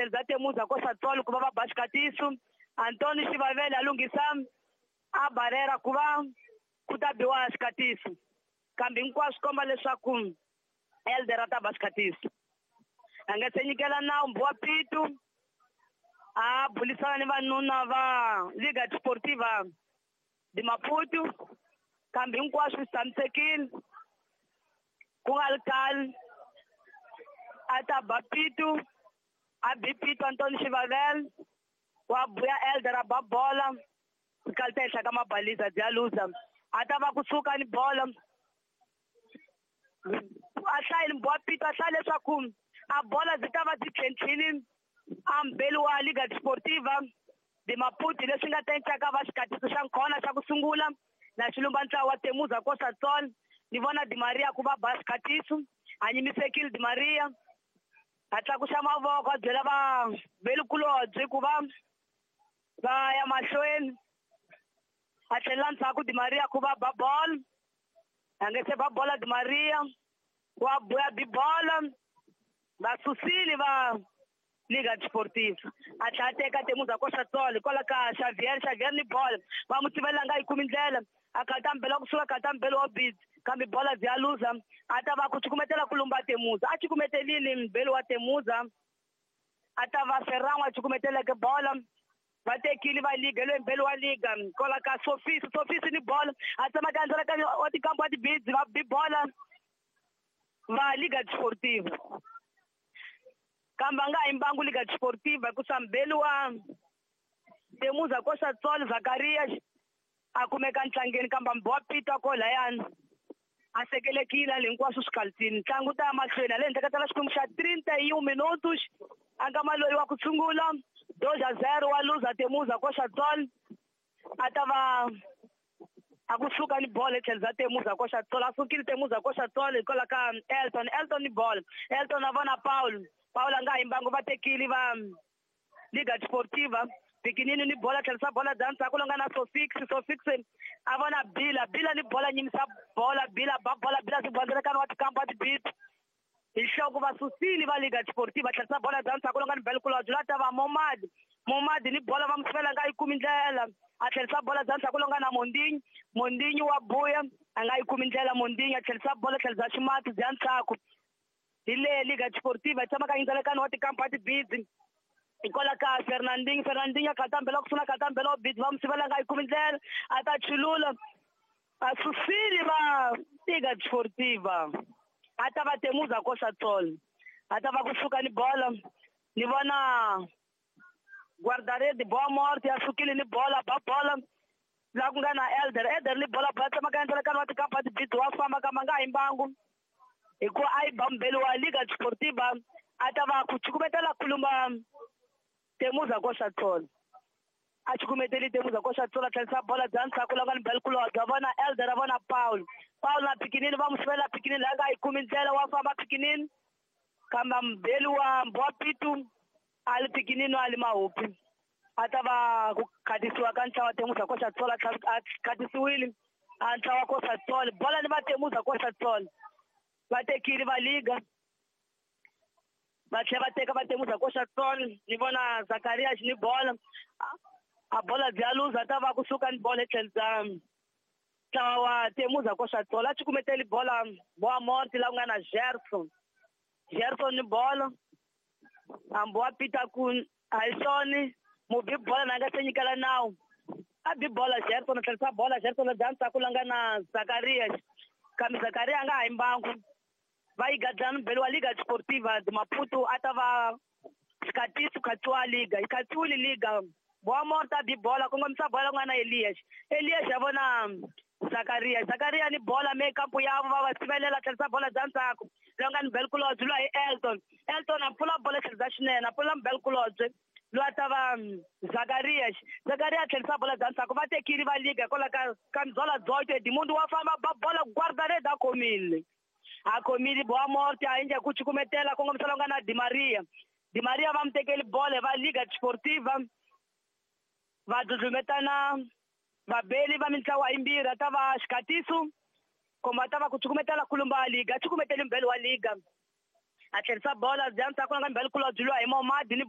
etlhelo bya Temuza Kosatsolo ku va va ba xikatiso. Antoni Xivavele a lunghisa a barera ku va ku ta biwa xikatiso, kambe hinkwaswo komba leswaku Elder a ta ba xikatiso. A nga se nyikela nawu Mbuwa Pitu a bulisana ni vanuna va Liga Desportiva de Maputo, kambe hinkwaswo swi tshamisekile. Ku nga ri khale a ta ba Pitu, a bi Pitu Antoni Xivavele wa buya Elder a ba bola kalta henhla ka mabaliza bya luza. A ta va kusuka ni bola a hlayile Mbuwa Pitu, a hlaya leswaku a bola byi ta va byi tlhentlhile a mbeli wa Liga Desportiva de Maputo, leswi nga ta endlaka va xikatiso xa nkhona xa ku sungula na xilumba ntlawa wa Temuza Kosatsol. Ni vona Di Maria ku va ba xikatiso, a nyimisekile Di Maria, a tlakusa mavoko a byela va velikulobye ku va va ya mahlweni. A tlhelela ndzhaku Di Maria ku va ba bolo, a nge se ba bola Di Maria wa buya bi bola, va susile va Liga Desportiva. A tlhela a teka Temuza Kosatsol hikwalaho ka Xavier, Xavier ni bola va n'wi sivela nga yi kumi ndlela, a kalta mbelo kusuka kalta mbelo wa Bids, kambe bola bya luza. A ta va ku cukumetela ku lumba Temuza, a cukumetelile mbelo wa Temuza, a ta va Ferrango a cukumeteleke bola. Va tekile va Liga loyi mbelo wa Liga kwala ka Sofisi, Sofisi ni bola a tsemaka endzela ka wa tikambu wa tibids, va bi bola va Liga Desportiva, kambe a nga yi mbangu Liga Desportiva hikusa mbeli wa Temuza Kosatsol Zakaria a kumeka ntlangeni, kambe Mbuwa Pitu a ko layani a sekelekile ali hinkwaswo swikalutini. Ntlangu ta ya mahlweni ale henhla ka tala xikwembu xa 31 minutos, a nga maloyi wa ku sungula 2-0 wa luza Temuza Kosatsol. A ta va a kusuka ni bola etlhelo bya Temuza Kosatsol, a sukile Temuza Kosatsol hikwalaho ka Elton, Elton ni bola, Elton a vona Paul, Paul a nga yi mbangu, va tekile va Liga Desportiva Pikinini ni bola, tlherisa bola bya ndzhaku lowu nga na Sofix, Sofix a vona Bila, Bila ni bola, nyimisa bola, Bila ba bola, Bila swi bondzela wa tikampa wa tibit hi nhloko, va susile va Liga Desportiva. Tlherisa bola bya ndzhaku lowu nga ni Belkulodge, la ta va Momadi, Momadi ni bola va n'wi sivela nga yi kumi ndlela, a tlherisa bola bya ndzhaku lowu nga na Mondinyi, Mondinyi wa buya a nga yi kumi ndlela, Mondinyi a tlherisa bola tlherisa ximati bya ndzhaku. Hi le Liga Desportiva yi tshama ka yindzelekano wa tikampa wa tibidzi hikwalaho ka Fernandinho, Fernandinho a khata mbelo ku sungula khata mbelo wa bidzi va n'wi sivela nga yi kumi ndlela, a ta chulula a susile va Liga Desportiva. A ta va Temuza Kosatsol, a ta va kusuka ni bola, ni vona guardaredi Boa Morte a sukile ni bola, ba bola la ku nga na Elder, Elder ni bola ba tsamaka endzelekano wa tikampa wa tibidzi wa famba kambe a nga yi mbangu hikuva a yi ba mbeli wa Liga Desportiva. A ta va ku cukumetela kulumba Temuza Kosatsol, a cukumeteli Temuza Kosatsol, a tlherisa bola bya ndzhaku la nga ni Belkulodge, a vona Elder, a vona Paul, Paul na Pikinini va n'wi sivela Pikinini la nga yi kumi ndlela, wa famba Pikinini kambe mbeli wa Mbuwa Pitu a li Pikinini a li mahupi. A ta va ku khatisiwa ka ntlawa Temuza Kosatsol, a khatisiwile a ntlawa Kosatsol, bola ni va Temuza Kosatsol va tekile va Liga, va tlhela va teka va Temuza Kosatsol. Ni vona Zakaria ni bola, a bola bya luza, ta va kusuka ni bola etlhelo bya ntlawa wa Temuza Kosatsol. A cukumeteli bola Boa Morte la ku nga na Gerson, Gerson ni bola a Mbuwa Pitu ku a hi swona mubi bola na nga se nyikela nawu, a bi bola Gerson, a tlherisa bola Gerson bya ndzhaku la nga na Zakaria, kambe Zakaria a nga ha yi mbangu, va yi gadlana mbeli wa Liga Desportiva de Maputo. A ta va xikatiso khatsiwa Liga, yi khatsiwile Liga. Boa Morte a bi bola, kongomisa bola ku nga na Elias, Elias a vona Zakaria, Zakaria ni bola me kampu yavo va va sivelela, tlherisa bola bya ndzhaku loyi nga ni Belkulodge, loyi hi Elton, Elton a pfula bola tlherisa xinene, a pfula Belkulodge loyi a ta va Zakaria, Zakaria a tlherisa bola bya ndzhaku, va tekile va Liga hikwalaho ka Camisola 18 Edmundo wa famba ba bola, guardarede a khomile, a khomile Boa Morte a endla ku cukumetela kongomisa lowu nga na Di Maria, Di Maria va n'wi tekeli bola va Liga Desportiva, va dludlumetana vabeli va mintlawa yimbirhi, a ta va xikatiso komba a ta va ku cukumetela kulumba Liga, a cukumeteli mbeli wa Liga, a tlherisa bola bya ndzhaku nga mbeli kulobye lwa hi Momadi ni